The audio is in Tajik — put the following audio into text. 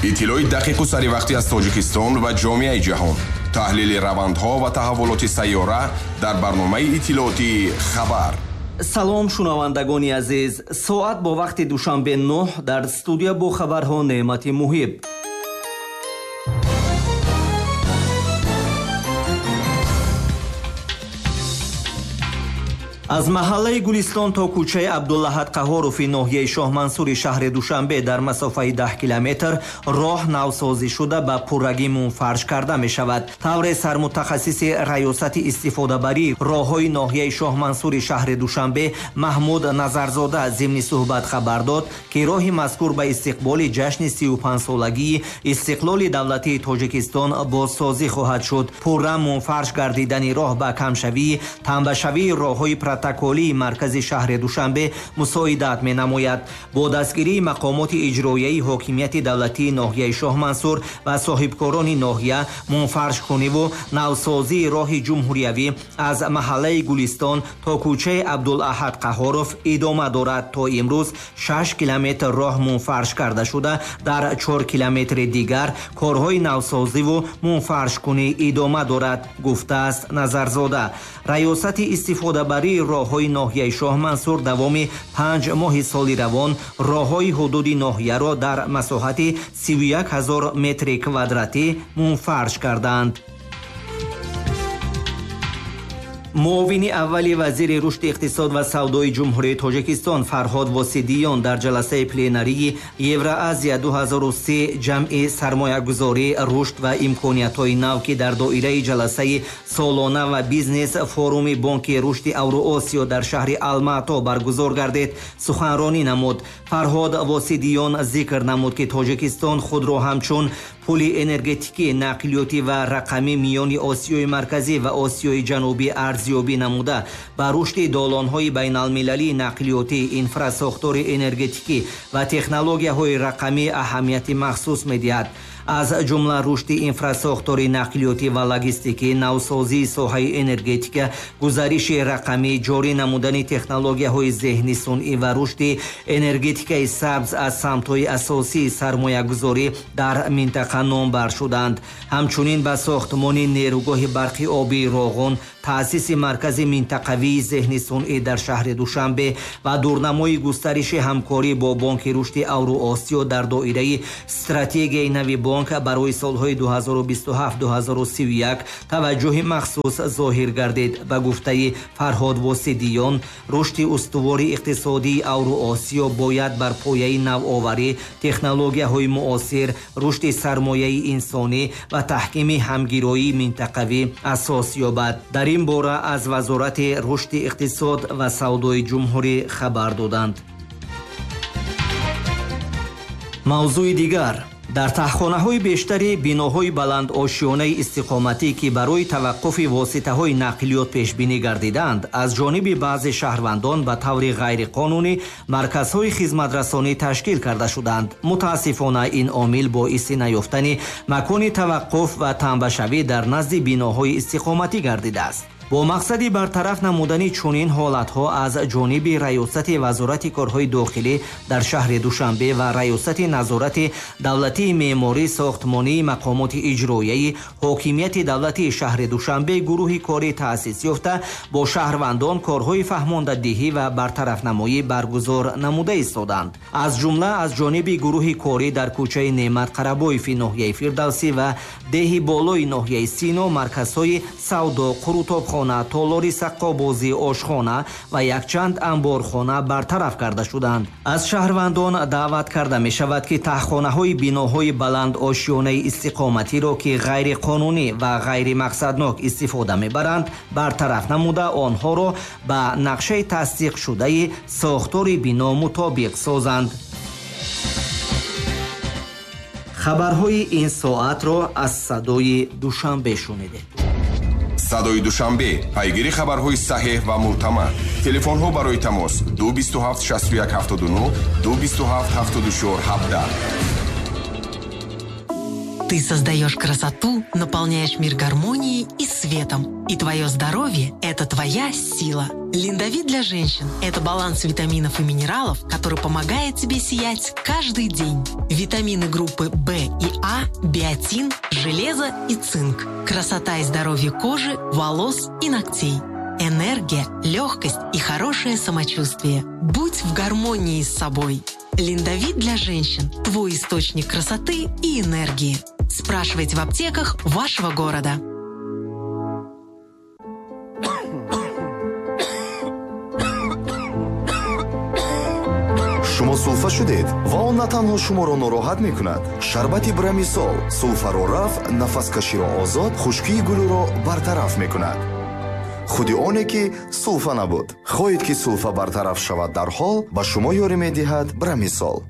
Иттилои дақиқу саривақтӣ аз Тоҷикистон ва ҷомеаи ҷаҳон, таҳлили равандҳо ва таҳаввулоти сайёра дар барномаи иттилоотии «Хабар». Салом, шунавандагони азиз. Соат бо вақти Душанбе 9, дар студия бо хабарҳо Неъмати Муҳиб. Аз маҳаллаи Гулистон то кӯчаи Абдуллаҳад Қаҳҳорови ноҳияи Шоҳмансури шаҳри Душанбе дар масофаи 10 километр роҳ навсозӣ шуда ба пуррагӣ мунфарш карда мешавад. Тавре сармутахассиси раёсати истифодабарии роҳҳои ноҳияи Шоҳмансури шаҳри Душанбе Маҳмуд Назарзода зимни суҳбат хабар дод, ки роҳи мазкур ба истиқболи ҷашни 35-солагии истиқлоли давлатии Тоҷикистон бозсозӣ хоҳад шуд. Пурра мунфарш гардидани роҳ ба камшавии тамбашавии роҳҳои протоколии маркази шаҳри Душанбе мусоидат менамояд. Бо дастгирии мақомоти иҷроияи ҳокимияти давлатии ноҳияи Шоҳмансур ва соҳибкорони ноҳия мунфаршкуниву навсозии роҳи ҷумҳуриявӣ аз маҳаллаи Гулистон то кӯчаи Абдулаҳад Қаҳҳоров идома дорад. То имрӯз 6 километр роҳ мунфарш карда шуда, дар 4 километри дигар корҳои навсозиву мунфаршкунӣ идома дорад, гуфтааст Назарзода. Раёсати истифодабарии роҳҳои ноҳияи Шоҳмансур давоми 5 моҳи соли равон роҳҳои ҳудуди ноҳияро дар масоҳати 31 ҳазор метри квадратӣ мунфарш карданд. Муовини аввали вазири рушди иқтисод ва савдои Ҷумҳурии Тоҷикистон Фарҳод Восидиён дар ҷаласаи пленарии Евроазия 2003 ҷамъи сармоягузорӣ, рушд ва имкониятҳои нав, ки дар доираи ҷаласаи солона ва бизнес форуми Бонки рушди Авроосиё дар шаҳри Алмато баргузор гардид, суханронӣ намуд. Фарҳод Восидиён зикр намуд, ки Тоҷикистон худро ҳамчун пули энергетикӣ, нақлиётӣ ва рақамӣ миёни Осиёи Марказӣ ва Осиёи Ҷанубӣ арзёбӣ намуда, ба рушди долонҳои байналмилалии нақлиётӣ, инфрасохтори энергетикӣ ва технологияҳои рақамӣ аҳамияти махсус медиҳад. Аз ҷумла рушди инфрасохтори нақлиётӣ ва логистикӣ, навсозии соҳаи энергетика, гузариши рақамӣ, ҷорӣ намудани технологияҳои зеҳни сунъӣ ва рушди энергетикаи сабз аз самтҳои асосии сармоягузорӣ дар минтақа номбар шуданд. Ҳамчунин ба сохтмони нерӯгоҳи барқи обии Роғун, таъсиси маркази минтақавии зеҳни сунъӣ дар шаҳри Душанбе ва дурнамои густариши ҳамкорӣ бо Бонки рушди Авроосиё дар доираи стратегияи нави бонк барои солҳои 2027-2031 таваҷҷӯҳи махсус зоҳир гардид. Ба гуфтаи Фарҳод Восидиён, рушди устувори иқтисодии Авроосиё бояд бар пояи навоварӣ, технологияҳои муосир, рушди сармояи инсонӣ ва таҳкими ҳамгироии минтақавӣ асос ёбад. Дар ин бора аз Вазорати рушди иқтисод ва савдои ҷумҳурӣ хабар доданд. Мавзӯи дигар. Дар таҳхонаҳои бештари биноҳои баландошёнаи истиқоматӣ, ки барои таваққуфи воситаҳои нақлиёт пешбинӣ гардидаанд, аз ҷониби баъзе шаҳрвандон ба таври ғайриқонунӣ марказҳои хизматрасонӣ ташкил карда шуданд. Мутаассифона, ин омил боиси наёфтани макони таваққуф ва тамбашавӣ дар назди биноҳои истиқоматӣ гардидааст. Бо мақсади бартараф намудани чунин ҳолатҳо аз ҷониби Раёсати Вазорати корҳои дохилӣ дар шаҳри Душанбе ва Раёсати назорати давлатии меъморӣ сохтмонии мақомоти иҷроияи ҳокимияти давлатии шаҳри Душанбе гурӯҳи корӣ таъсис ёфта, бо шаҳрвандон корҳои фаҳмондадиҳӣ ва бартарафнамоӣ баргузор намуда истоданд. Аз ҷумла аз ҷониби гурӯҳи корӣ дар кӯчаи Неъмат Қарабоеви ноҳияи Фирдавсӣ ва деҳи болои ноҳияи Сино марказҳои савдо, қурутобхона, толори саққобозӣ, ошхона ва якчанд анборхона бартараф карда шуданд. Аз шаҳрвандон даъват карда мешавад, ки таҳхонаҳои биноҳои баландошёнаи истиқоматиро, ки ғайриқонунӣ ва ғайримақсаднок истифода мебаранд, бартараф намуда, онҳоро ба нақшаи тасдиқшудаи сохтори бино мутобиқ созанд. Хабарҳои ин соатро аз Садои Душанбе шунидед. Садои Душанбе, пайгири хабарҳои саҳеҳ ва мӯътамад. Телефонҳо барои тамос 227 61 79, 227 74 17. Ты создаешь красоту, наполняешь мир гармонией и светом. И твое здоровье – это твоя сила. Линдовит для женщин – это баланс витаминов и минералов, который помогает тебе сиять каждый день. Витамины группы В и А, биотин, железо и цинк. Красота и здоровье кожи, волос и ногтей. Энергия, легкость и хорошее самочувствие. Будь в гармонии с собой. Линдовит для женщин – твой источник красоты и энергии. Спрашивайте в аптеках вашего города. Шумо сулфа шудед ва он на танҳо шуморо нороҳат мекунад. Шарбати Брамисол сулфаро рафт, нафаскаширо озод, хушкии гулӯро бартараф мекунад. Худи оне ки сулфа набуд. Хоҳед, ки сулфа бартараф шавад дарҳол, ба шумо ёрӣ медиҳад Брамисол.